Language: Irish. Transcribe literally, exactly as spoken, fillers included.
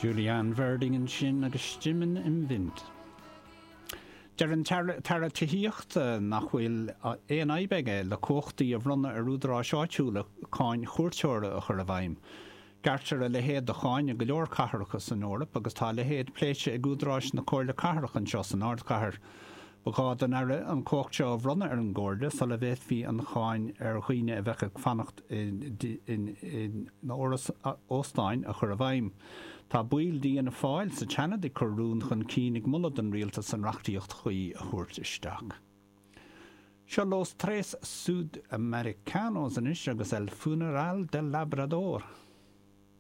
Julianne Verding ansin agus Stimmen im Wind. Deir an tAire Tithíochta nach bhfuil aon fhadhb aige le cumhachtaí a bhronnadh ar údaráis áitiúla cáin chuairteora a chur i bhfeidhm. Gearrtar a leithéid de cháin i go leor cathracha san Eoraip agus tá a leithéid pléite ag údaráis na Comhairle Cathrach anseo san ardchathair. Ba ghá don Aire an chumhacht seo a bhronnadh ar an gComhairle sula bhféadfaí an cháin ar dhaoine a bheadh ag fanacht in óstáin a chur i bhfeidhm. Tá baill d'Fhianna Fáil sa tSeanad ag cur rún chun cinn ag moladh don rialtas an reachtaíocht chuí a thabhairt isteach. Seo Los Tres Sudamericanos anois agus El Funeral del Labrador.